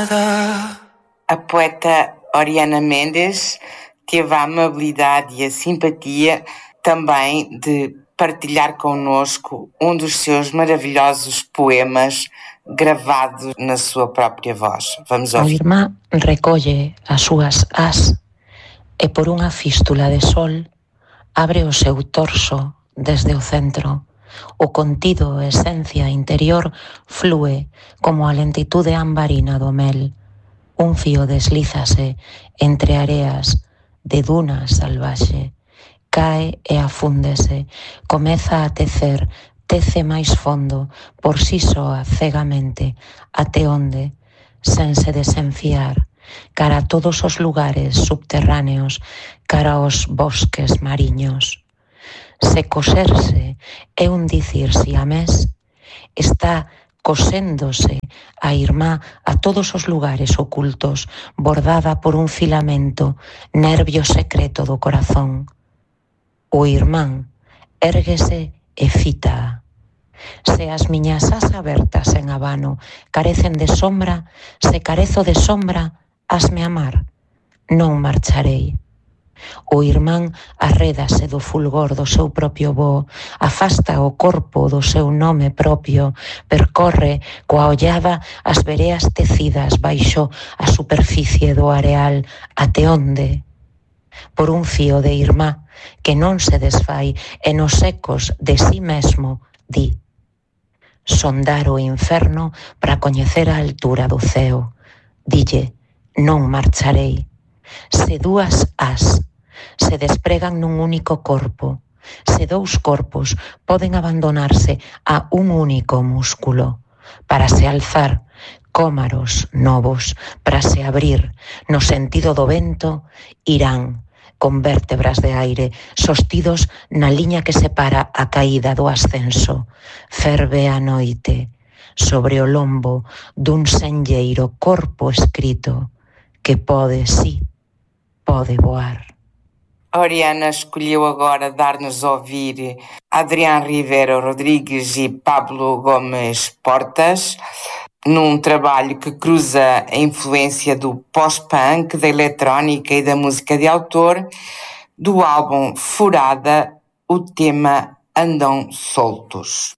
A poeta Oriana Mendes teve a amabilidade e a simpatia também de partilhar connosco um dos seus maravilhosos poemas gravados na sua própria voz. Vamos ouvir. A irmá recolle as súas as e por unha fístula de sol abre o seu torso desde o centro. O contido esencia interior flúe como a lentitude ambarina do mel. Un fío deslízase entre areas de duna salvaxe. Cae e afúndese, comeza a tecer, tece máis fondo, por si soa, cegamente, até onde, sen se desenfiar, cara a todos os lugares subterráneos, cara aos bosques mariños. Se coserse é un dicir siamés, está coséndose a irmá a todos os lugares ocultos, bordada por un filamento, nervio secreto do corazón. O irmán érguese e fita. Se as miñas as abertas en abano carecen de sombra, se carezo de sombra, hasme amar, non marcharei. O irmán arrédase do fulgor do seu propio voo, afasta o corpo do seu nome propio, percorre coa ollada as vereas tecidas baixo a superficie do areal, até onde? Por un fío de irmá que non se desfai e nos ecos de si mesmo di: sondar o inferno para coñecer a altura do ceo. Dille: non marcharei. Se dúas as se despregan nun único corpo, se dous corpos poden abandonarse a un único músculo, para se alzar cómaros novos, para se abrir no sentido do vento, irán con vértebras de aire sostidos na liña que separa a caída do ascenso. Ferve a noite sobre o lombo dun senlleiro corpo escrito que pode, sí, pode voar. Oriana escolheu agora dar-nos a ouvir Adrián Rivero Rodrigues e Pablo Gomes Portas, num trabalho que cruza a influência do pós-punk, da eletrónica e da música de autor, do álbum Furada, o tema Andam Soltos.